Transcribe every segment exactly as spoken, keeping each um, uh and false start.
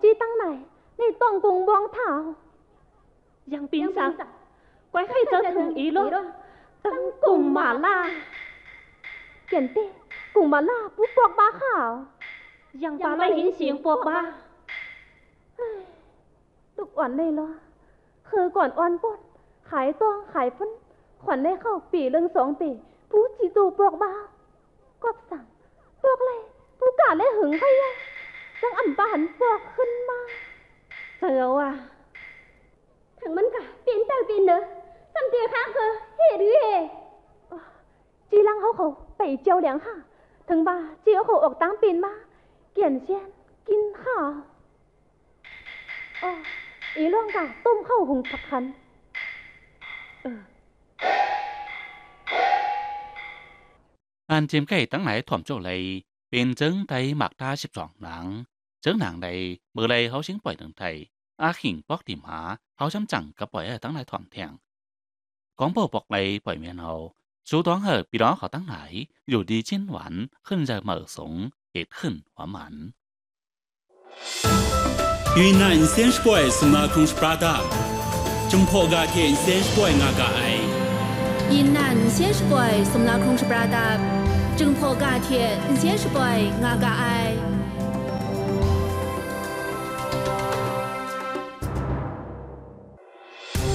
Chyi tang nai, ngai tawng kung bawng hta. Yang pin sa, kwai hkai zau htung i law, tang kung ma la. Kyen te, kung ma la, pu pawk ba hka. Yang pa lai yin sing pawk ba. Tuk wan lai law, hke gawn awn pawt, hkai tawng, hkai hpun, hkawn lai hkau, pe lang sawng pe, pu chyi tu pawk ba. Kawp sang, pawk lai, pu ka lai hung hkai ya, dang am pa han pawk hkun ma. Zau a. Hpang man ga, pin tai pin de, sam de hka hka, he ru he. Oh, chyi lang hau hkau, pai jau liang hka, htung ba, chyi hkau awk tang pin ma, kyen shen, kyin hka. Oh, i lawng ga, tum hkau hung hpak hkan. An tim kai tang lai htawm chyaw lai, pin zeng tai mak ta ship zawng nang, zeng nang lai, mu lai hau shing poi nang tai, a hking pawk di ma, hau sham chang kap poi ai tang lai htawm htiang, kawng bau pawk lai poi me nau, su dawng hau pyi dawng hkau tang lai, yu di chin wan, hkun zau mau sung, it hkun wa man. 云南 nsen shapoi sumla hkrung shapra dap, Jinghpaw ga hte nsen shapoi nga ga ai. 云南 nsen shapoi sumla hkrung shapra dap, Jinghpaw ga hte nsen shapoi nga ga ai.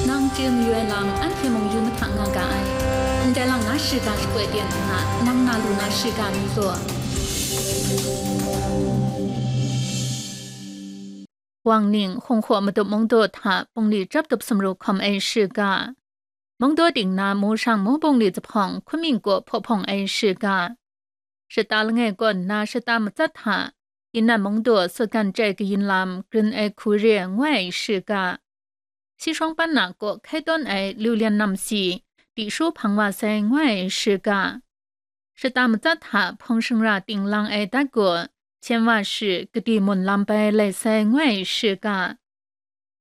Nang chye mayu ai lam anhte mung yu mahta nga ga ai. Ndai lang na shiga shapoi ten nna, nang na lu na shiga mi gaw. Wang Ning, Hkungkhaw Matup Mungdaw hta bungli chyap tup sumru hkawm ai shiga. Mungdaw ting na Mushang Mubungli Zuphpawng Hkunming kaw hpaw hpawng ai shiga. Shata langai kaw nna shata matsat hta, Yinnan Mungdaw Sutgan Chyai Kayin Lam grin ai hku re ngoi ai shiga. Sishawng Pan Na kaw hkai tawn ai Liu Lian Nam Si, Tihshu hpang wa sai ngoi ai shiga. Shata matsat hta hpawng shingra ting lang ai dat gaw, Hpyen Wa Shi, Kadi Mun Lam bai lai sai ngoi ai shiga.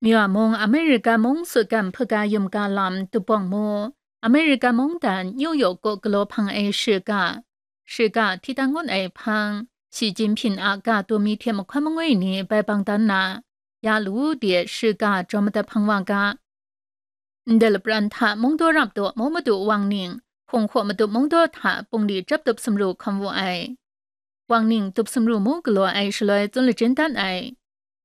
Myawa mung, Amerika mung Sutgan Hpaga Yum Ga Lam dubawng mu, Amerika mungdan New York kaw galaw hpang ai shiga, shiga hti dan ngut ai hpang, Shi Jinhping a ga taw mi hte mahkawn mangwi ni bai bang dan na, ya lu de shiga jaw madat hpang wa ga. Ndai lapran hta Mungdaw rap daw Mu Madu Wang Ning, Hkungkhaw Matup Mungdaw hta bungli chyap tup sumru hkawm wu ai. Wang Ning tup sumru mu galaw ai shaloi tsun lajin dan ai.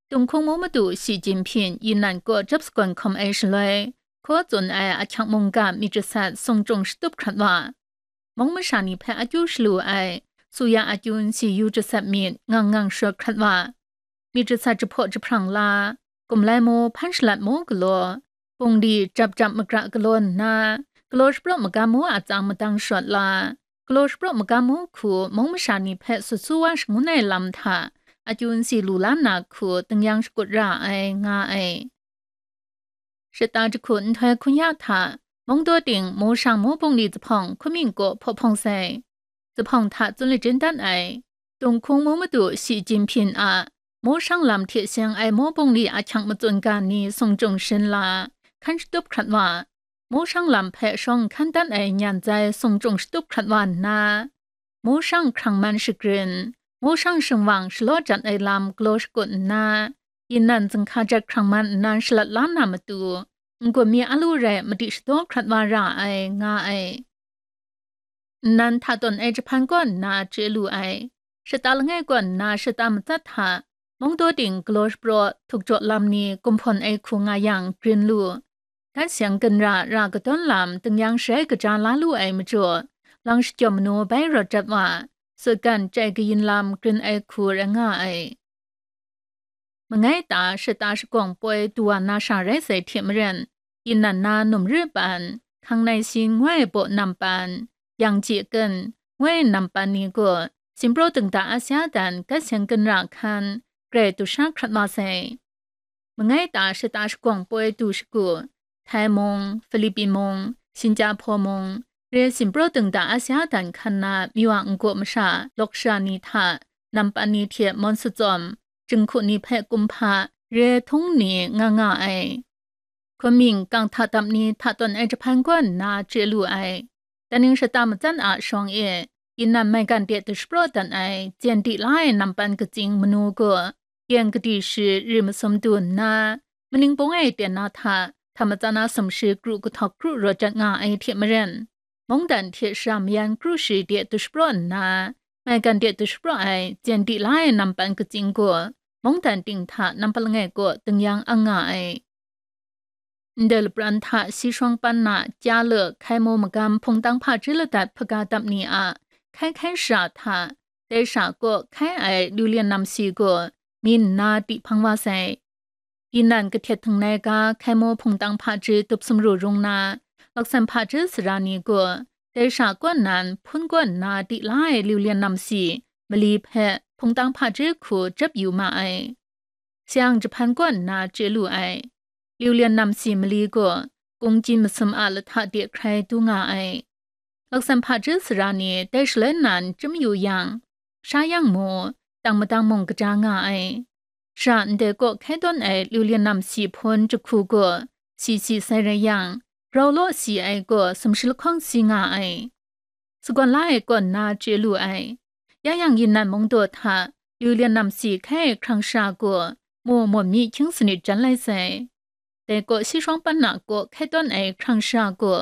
Tung hkung Mu Madu Shi Jinhping Yinnan kaw chyap sagawn hkawm ai shaloi, hkaw tsun ai ahkyak mungga myit jasat sung chyung shatup hkrat wa, mung masha ni hpe akyu shalu ai, suya akyu nsi yu jasat myit ngang ngang shawt hkrat wa, myit jasat jahpaw jahprang la, kumlai mu, hpan shalat mu galaw, bungli jap jap makra galaw nna, galaw shapraw magam mu a tsang madang shawt la, galaw shapraw magam mu hku mung masha ni hpe sut su wa shangun ai lam hta, akyu nsi lu la nna hku tingnyang shakut ra ai, nga ai. Shata jahku nhtoi hkun ya hta, Mungdaw ting Mushang Mubungli Zuphpawng Hkunming kaw hpaw hpawng sai. Zuphpawng hta tsun lajin dan ai. Tung hkung Mu Madu Shi Jinhping a Mushang lam hte seng ai Mubungli ahkyak matsun ga ni sung chyung shin la, hkan shatup hkrat wa, Mushang lam hpe shawng hkan dan ai nyan zai sung chyung shatup hkrat wa nna, Mushang hkrang man shagrin, Mushang shingwang shalaw jat ai lam galaw shakut nna, Yinnan zinghka jat hkrang man nnan shalat la na matu, n-gun mi a lu rai madi shadaw hkrat wa ra ai, nga ai. Nnan hta tawn ai jahpan kaw nna chye lu ai. Shata langai kaw nna shata matsat hta, Mungdaw ting galaw shapraw, htuk jaw lam ni gumhpawn ai hku nga yang grin lu. Gat seng ginra ra kadawn lam tingnyang sharai kaja la lu ai majaw, lang shajawm manu bai rawt jat wa, Sutgan Chyai Kayin Lam grin ai hku rai nga ai. Mangai ta shata shagawng poi du wa na sha rai sai hte maren, Yinnan na Numri Pan, Hkangnai Sin ngoi ai baw nam pan, Yang Chye Ken ngoi ai nam pan ni gaw, Sinpraw Dingda Asia dan gat seng ginra hkan, grai du sha hkrat wa sai. Mangai ta shata shagawng poi du shagu, Thai mung, Philippi mung, Sinjahpaw mung, re Sinpraw Dingda Asia dan hkan na Myawa n-gaw masha lawk sha ni hta, nam pan ni hte mawn satsawm, jinghku ni hpe kumhpa, re htung ni nga nga ai. Hkunming kang hta dap ni hta tawn ai jahpan kaw nna chye lu ai. Daning shata matsat a shawng e, Yinnan maigan de dashapraw dat ai, jen di la ai nam pan katsing manu gaw, Yeng kadi shi ri masum du nna, maning bung e ten na hta, hta matsan na sumshi kru kahtawk kru rawt jat nga ai hte maren, mungdan hte shara mayan kru shi de dushapraw nna, maigan de dushapraw ai, jen di la ai nampan katsing gaw, mungdan ting hta nampat langai kaw ding yang ang nga ai. Ndai lapran hta si shawng pan na, kya le, hkai mu magam hpungtang hpaji ladat hpaga dap ni a hkai hkai shara hta, dai shara kaw hkai ai liu lian nam si gaw, mi nna di hpang wa sai. Inan kahtet htingnai ga hkai mu hpungtang hpaji dup sumru rung na, laksan hpaji sara ni gaw, dai shara kaw nan hpun kaw nna di la ai liu lian nam si mali hpe hpungtang hpaji hku jep yu ma ai. Sayang jahpan kaw nna chye lu ai. Liu lian nam si mali gaw, kungji masum a lahta de hkrai du nga ai. Laksan hpaji sara ni dai shaloi nan chyum yu yang, sha yang mu, dang madang mung kaja nga ai. Shara ndai kaw hkai tawn ai liu lian nam si hpun jahku gaw, si si sai rai yang, grau law si ai gaw sumshi lahkawng si nga ai. Sagawn la ai kaw nna chye lu ai. Ya yang, Yinan mung daw hta liu lian nam si hkai ai hkrang shara gaw, mu mawm myi hkying sanit jan lai sai. Dai kaw si shawng pan na kaw hkai tawn ai hkrang shara gaw,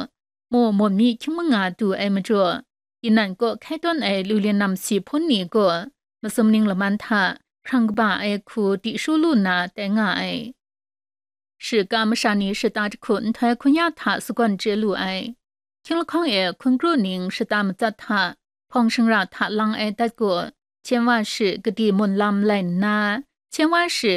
mu mawm myi hkying manga du ai majaw, Yinan kaw hkai tawn ai liu lian nam si hpun ni gaw, masum ning laman hta hkrang kaba ai hku di shu lu na tai nga ai. Shika masha ni shata jahku nhtoi hkun ya hta sagawn chye lu ai. Hkying lahkawng e hkun kru ning shata matsat hta, hpawng shingra hta lang ai dat gaw, hpyen wa shi kadi mun lam lai nna, hpyen wa shi